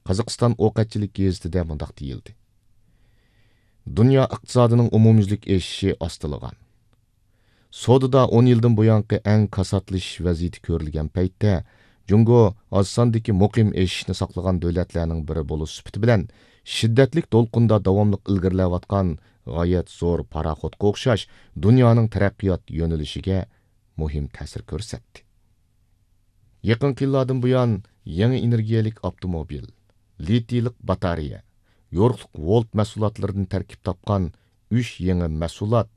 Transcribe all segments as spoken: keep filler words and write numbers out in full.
قازاقىستان ئوقەتچىلىك گېزىتىدە مۇنداق دېيىلدى: دۇنيا ئىقتىسادىنىڭ ئومۇميۈزلۈك ئېشىشى ئاستىلىغان. سودىدا ئون يىلدىن بۇيانقى ئەڭ كاساتلىشىش ۋەزىيىتى كۆرۈلگەن پەيتتە، جۇڭگو ئاز ساندىكى مۇقىم ئېشىشنى ساقلىغان دۆلەتلەرنىڭ بىرى بولۇش سۈپىتى بىلەن، شىددەتلىك دولقۇندا داۋاملىق ئىلگىرىلەۋاتقان غايەت زور پاراخوتقا ئوخشاش دۇنيانىڭ تەرەققىيات يۆنىلىشىگە مۇھىم تەسىر كۆرسەتتى. يېقىنقى يىللاردىن بۇيان، يېڭى ئېنېرگىيەلىك ئاپتوموبىل، لىتىيلىق باتارېيە، يورۇقلۇق ۋولت مەھسۇلاتلىرىدىن تەركىب تاپقان ئۈچ يېڭى مەھسۇلات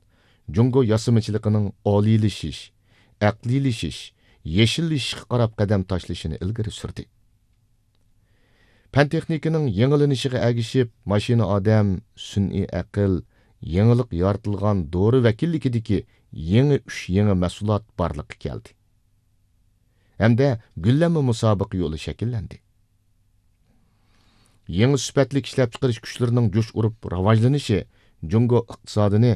جۇڭگو ياسىمىچىلىقىنىڭ ئالىيلىشىش، ئەقلىيلىشىش، يېشىللىشىشقا قاراپ قەدەم تاشلىشىنى ئىلگىرى سۈردى. پەن-تېخنىكىنىڭ يېڭىلىنىشىغا ئەگىشىپ، ماشىنا ئادەم، سۈنئىي ئەقىل، يېڭىلىق يارىتىلغان دورا ۋەكىللىكىدىكى يېڭى ئۈچ يېڭى مەھسۇلات بارلىققا كەلدى. ھەمدە گۈللەنمە مۇسابىقە يولى شەكىللەندى. يېڭى سۈپەتلىك ئىشلەپچىقىرىش كۈچلىرىنىڭ جۇش ئۇرۇپ راۋاجلىنىشى جۇڭگو ئىقتىسادىنى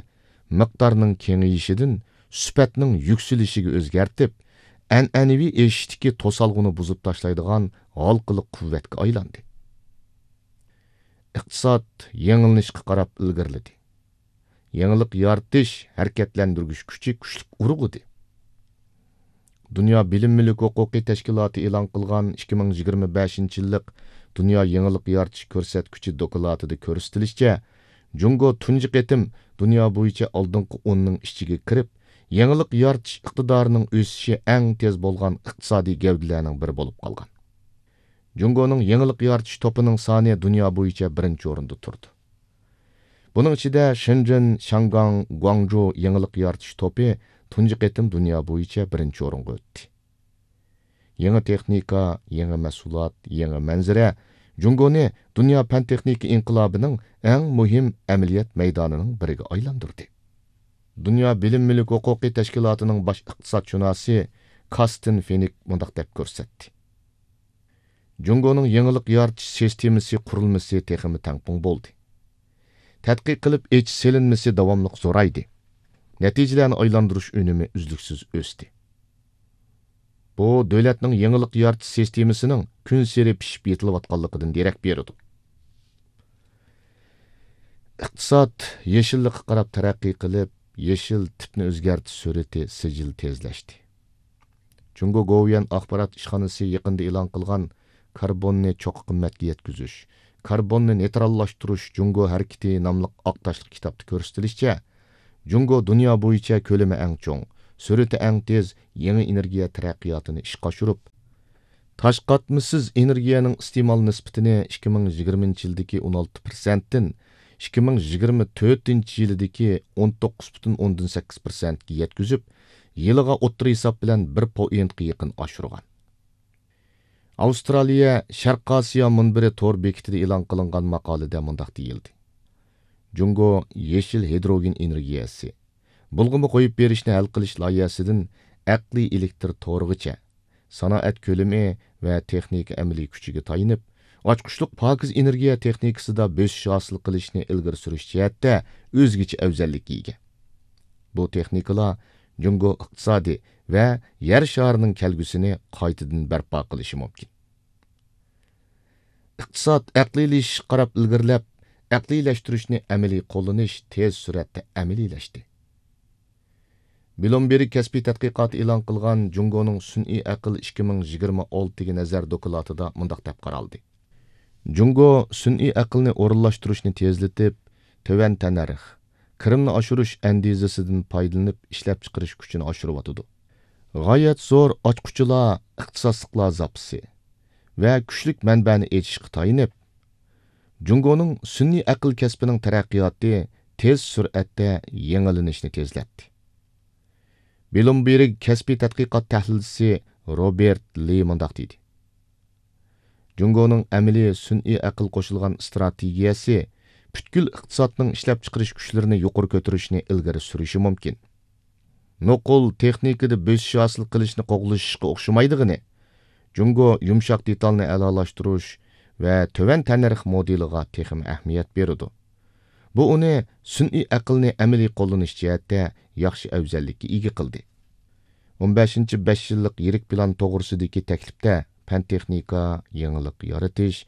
مىقدارنىڭ كېڭىيىشىدىن سۈپەتنىڭ يۈكسىلىشىگە ئۆزگەرتىپ، ئەنئەنىۋى ئېشىشتىكى توسالغۇنى بۇزۇپ تاشلايدىغان ھالقىلىق قۇۋۋەتكە ئايلاندى. ئىقتىساد يېڭىلىنىشقا قاراپ ئىلگىرىلىدى. يېڭىلىق يارىتىش، ھەرىكەتلەندۈرگۈچ كۈچى كۈچلۈك ئۇرغۇدى. دۇنيا بىلىم مۈلۈك ھوقۇقى تەشكىلاتى ئېلان قىلغان ئىككى مىڭ يىگىرمە بەشىنچى يىللىق دۇنيا يېڭىلىق يارىتىش كۆرسەتكۈچى دوكلاتىدا كۆرسىتىلىشىچە، جۇڭگو تۇنجى قېتىم دۇنيا بويىچە ئالدىنقى ئوننىڭ ئىچىگە كىرىپ، يېڭىلىق يارىتىش ئىقتىدارىنىڭ ئۆسۈشى ئەڭ تېز بولغان ئىقتىسادىي گەۋدىلەرنىڭ بىرى بولۇپ قالغان. جۇڭگونىڭ يېڭىلىق يارىتىش توپىنىڭ سانى دۇنيا بويىچە بىرىنچى ئورۇندا تۇرىدۇ. بۇنىڭ ئىچىدە شېنجېن، شياڭگاڭ، گۇاڭجۇ يېڭىلىق يارىتىش توپى تۇنجى قېتىم دۇنيا بويىچە بىرىنچى ئورۇنغا ئۆتتى. يېڭى تېخنىكا، يېڭى مەھسۇلات، يېڭى مەنزىرە جۇڭگونى دۇنيا پەن-تېخنىكا ئىنقىلابىنىڭ ئەڭ مۇھىم ئەمەلىيەت مەيدانىنىڭ بىرىگە ئايلاندۇردى. دۇنيا بىلىم مۈلۈك ھوقۇقى تەشكىلاتىنىڭ باش ئىقتىسادشۇناسى كاستىن فېنىك مۇنداق دەپ كۆرسەتتى: جۇڭگونىڭ يېڭىلىق يارىتىش سىستېمىسى قۇرۇلمىسى تېخىمۇ تەڭپۇڭ بولدى. تەتقىق قىلىپ ئېچىش سېلىنمىسى داۋاملىق زورايدى. نەتىجىلەرنى ئايلاندۇرۇش ئۈنۈمى ئۈزلۈكسىز ئۆستى. بۇ دۆلەتنىڭ يېڭىلىق يارىتىش سىستېمىسىنىڭ كۈنسېرى پىشىپ يېتىلىۋاتقانلىقىدىن دېرەك بېرىدۇ. ئىقتىساد يېشىللىققا قاراپ تەرەققىي قىلىپ، يېشىل تىپنى ئۆزگەرتىش سۈرئىتى سىجىل تېزلەشتى. جۇڭگو گوۋۇيۈەن ئاخبارات ئىشخانىسى يېقىندا ئېلان قىلغان كاربوننى چوققا قىممەتكە يەتكۈزۈش، كاربوننى نېيتراللاشتۇرۇش جۇڭگو ھەرىكىتى ناملىق ئاق تاشلىق كىتابتا كۆرسىتىلىشىچە، جۇڭگو دۇنيا بويىچە كۆلىمى ئەڭ چوڭ، سۈرئىتى ئەڭ تېز يېڭى ئېنېرگىيە تەرەققىياتىنى ئىشقا ئاشۇرۇپ، تاش قاتمىسىز ئېنېرگىيەنىڭ ئىستېمال نىسبىتىنى ئىككى مىڭ يىگىرمىنچى يىلدىكى ئون ئالتە پىرسەنتتىن ئىككى مىڭ يىگىرمە تۆتىنچى يىلىدىكى ئون توققۇز پۈتۈن ئوندىن سەككىز پىرسەنتكە يەتكۈزۈپ، يىلىغا ئوتتۇرا ھېساب بىلەن بىر پوئىنتقا يېقىن ئاشۇرغان. ئاۋسترالىيە شەرقىي ئاسىيا مۇنبىرى تور بېكىتىدە ئېلان قىلىنغان ماقالىدە مۇنداق دېيىلدى: جۇڭگو يېشىل ھىدروگېن ئېنېرگىيەسى، بۇلغىما قويۇپ بېرىشنى ھەل قىلىش لايىھەسىدىن ئەقلىي ئېلېكتر تورىغىچە، سانائەت كۆلىمى ۋە تېخنىكا ئەمەلىي كۈچىگە تايىنىپ، ئاچقۇچلۇق پاكىز ئېنېرگىيە تېخنىكىسىدا بۆسۈش ھاسىل قىلىشنى ئىلگىرى سۈرۈش جەھەتتە ئۆزگىچە ئەۋزەللىككە ئىگە. بۇ تېخنىكىلار جۇڭگو ئىقتىسادى ۋە يەر شارىنىڭ كەلگۈسىنى قايتىدىن بەرپا قىلىشى مۇمكىن. ئىقتىساد ئەقلىيلىشىشقا قاراپ ئىلگىرىلەپ، ئەقلىيلەشتۈرۈشنى ئەمەلىي قوللىنىش تېز سۈرئەتتە ئەمەلىيلەشتى. بلومبېرگ كەسپىي تەتقىقاتى ئېلان قىلغان جۇڭگونىڭ سۈنئىي ئەقىل ئىككى مىڭ يىگىرمە ئالتىگە نەزەر دوكلاتىدا مۇنداق دەپ قارالدى: جۇڭگو سۈنئىي ئەقىلنى ئورۇنلاشتۇرۇشنى تېزلىتىپ، تۆۋەن تەننەرخ، كىرىمنى ئاشۇرۇش ئەندىزىسىدىن پايدىلىنىپ ئىشلەپچىقىرىش كۈچىنى ئاشۇرۇۋاتىدۇ. غايەت زور ئاچقۇچىلار، ئىختىساسلىقلار زاپىسى ۋە كۈچلۈك مەنبەنى ئېچىشقا تايىنىپ، جۇڭگونىڭ سۈنئىي ئەقىل كەسپىنىڭ تەرەققىياتى تېز سۈرئەتتە يېڭىلىنىشنى تېزلەتتى. بلومبېرگ كەسپىي تەتقىقات تەھلىلچىسى روبېرت لى مۇنداق دېدى: جۇڭگونىڭ ئەمەلىي سۈنئىي ئەقىل قوشۇلغان ئىستراتېگىيەسى پۈتكۈل ئىقتىسادنىڭ ئىشلەپچىقىرىش كۈچلىرىنى يۇقىرى كۆتۈرۈشنى ئىلگىرى سۈرۈشى مۇمكىن. نوقۇل تېخنىكىدا بۆسۈش ھاسىل قىلىشنى قوغلىشىشقا ئوخشىمايدىغىنى، جۇڭگو يۇمشاق دېتالنى ئەلالاشتۇرۇش ۋە تۆۋەن تەننەرخ مودېلىغا تېخىمۇ ئەھمىيەت بېرىدۇ. بۇ ئۇنى سۈنئىي ئەقىلنى ئەمەلىي قوللىنىش جەھەتتە ياخشى ئەۋزەللىككە ئىگە قىلدى. ئون بەشىنچى بەش يىللىق يىرىك پىلان توغرىسىدىكى تەكلىپتە پەن-تېخنىكا، يېڭىلىق يارىتىش،